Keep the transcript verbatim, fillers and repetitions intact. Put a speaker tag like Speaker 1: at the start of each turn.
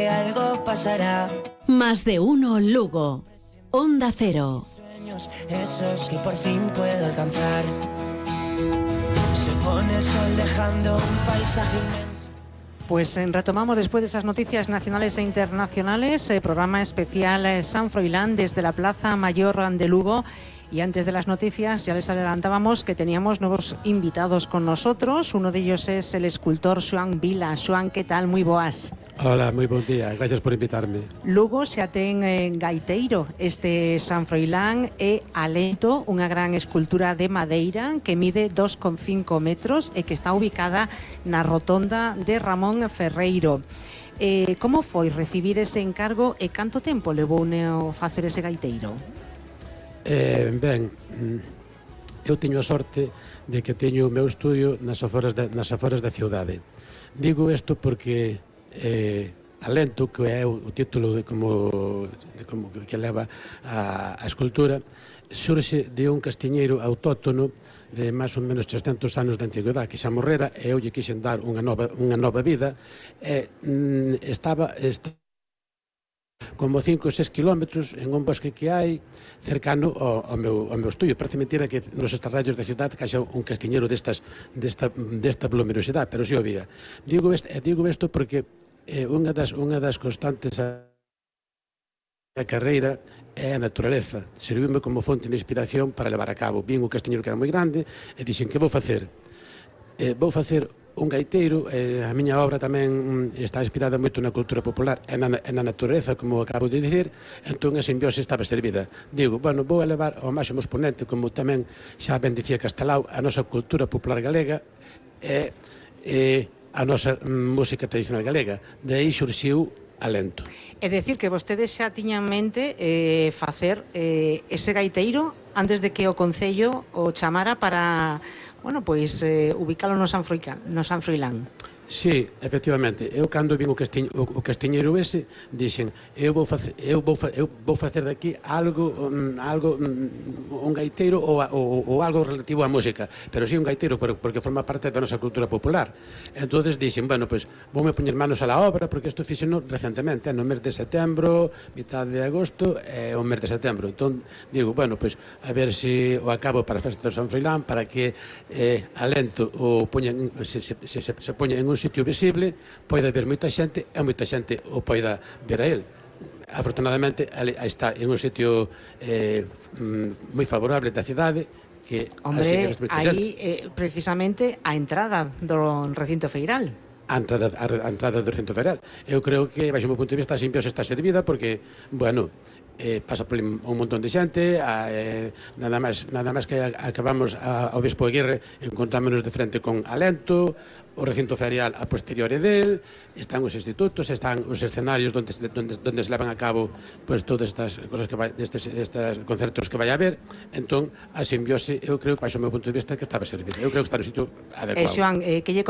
Speaker 1: que algo pasará.
Speaker 2: Más de uno Lugo. Onda Cero.
Speaker 1: Sueños esos que por fin puedo alcanzar. Se pone el sol dejando un paisaje inmenso.
Speaker 3: Pues eh, retomamos después de esas noticias nacionales e internacionales, eh, programa especial eh, San Froilán desde la Plaza Mayor de Lugo. Y antes de las noticias ya les adelantábamos que teníamos nuevos invitados con nosotros. Uno de ellos es el escultor Xoán Vila. Xoán, ¿qué tal? Muy boas.
Speaker 4: Hola, moi bon día, gracias por invitarme.
Speaker 3: Lugo xa ten eh, gaiteiro este San Froilán e Alento, unha gran escultura de madeira que mide dos coma cinco metros e que está ubicada na rotonda de Ramón Ferreiro. Eh, como foi recibir ese encargo e canto tempo levou a facer ese gaiteiro?
Speaker 4: Eh, ben, eu teño a sorte de que teño o meu estudio nas aforas da, nas aforas da ciudade. Digo isto porque eh, Alento, que é o, o título de como, de como que leva a, a escultura, surxe de un castiñeiro autóctono de máis ou menos trescentos anos de antigüedade que xa morrera e eu lle quixen dar unha nova, unha nova vida e mm, estaba... estaba como cinco ou seis kilómetros en un bosque que hai cercano ao, ao, meu, ao meu estudio. Parece mentira que nos estarrallos da cidade caixa un castiñeiro destas, desta, desta voluminosidade, pero si o había. Digo isto, digo isto porque eh, unha, das, unha das constantes a, a carreira é a naturaleza. Serviume como fonte de inspiración para levar a cabo. Vin un castiñeiro que era moi grande e dixen, que vou facer? Eh, vou facer un gaiteiro, eh, a miña obra tamén está inspirada moito na cultura popular e na, na natureza, como acabo de dicir, entón a simbiose estaba servida. Digo, bueno, vou elevar ao máximo exponente, como tamén xa ben dicía Castelao, a nosa cultura popular galega e, e a nosa música tradicional galega. De aí xurxiu Alento.
Speaker 3: É dicir, que vostedes xa tiñan en mente eh, facer eh, ese gaiteiro antes de que o Concello o chamara para... Bueno, pois eh, ubicalo no San Froilán, no San Froilán.
Speaker 4: Sí, efectivamente. Eu cando vin o, castiñ, o, o castiñeiro ese, dixen, eu vou facer, eu vou, eu vou facer daqui algo, um, algo um, un gaiteiro ou, ou, ou algo relativo á música, pero si sí un gaiteiro porque forma parte da nosa cultura popular. Entonces dixen, bueno, pois pues, voume poñer manos a la obra, porque isto fixeno recentemente, no mes de setembro, mitad de agosto e o mes de setembro. Entón, digo, bueno, pois pues, a ver se si o acabo para a festa do San Froilán, para que eh, Alento o poñen, se, se, se, se poña en un sitio visible, poida ver moita xente e moita xente o poida ver a él. Afortunadamente, aí está en un sitio eh, moi favorable da cidade, que
Speaker 3: Hombre, aí eh, precisamente a entrada do recinto feiral.
Speaker 4: A entrada, a entrada do recinto feiral. Eu creo que, baixo o meu punto de vista, a simbiose está servida porque, bueno, eh, pasa por un montón de xente, eh, nada máis nada máis que acabamos a, ao Bispo Aguirre, encontrámonos de frente con Alento, o recinto ferial a posteriori del, están os institutos, están os escenarios onde, onde, onde se levan a cabo pues, todas estas cosas que vai, destes, estes concertos que vai haber. Entón, a simbiose, eu creo que, baixo o meu punto de vista, que estaba servida. Eu creo que está no sitio adecuado.
Speaker 3: Eh, Xoán, eh, que lle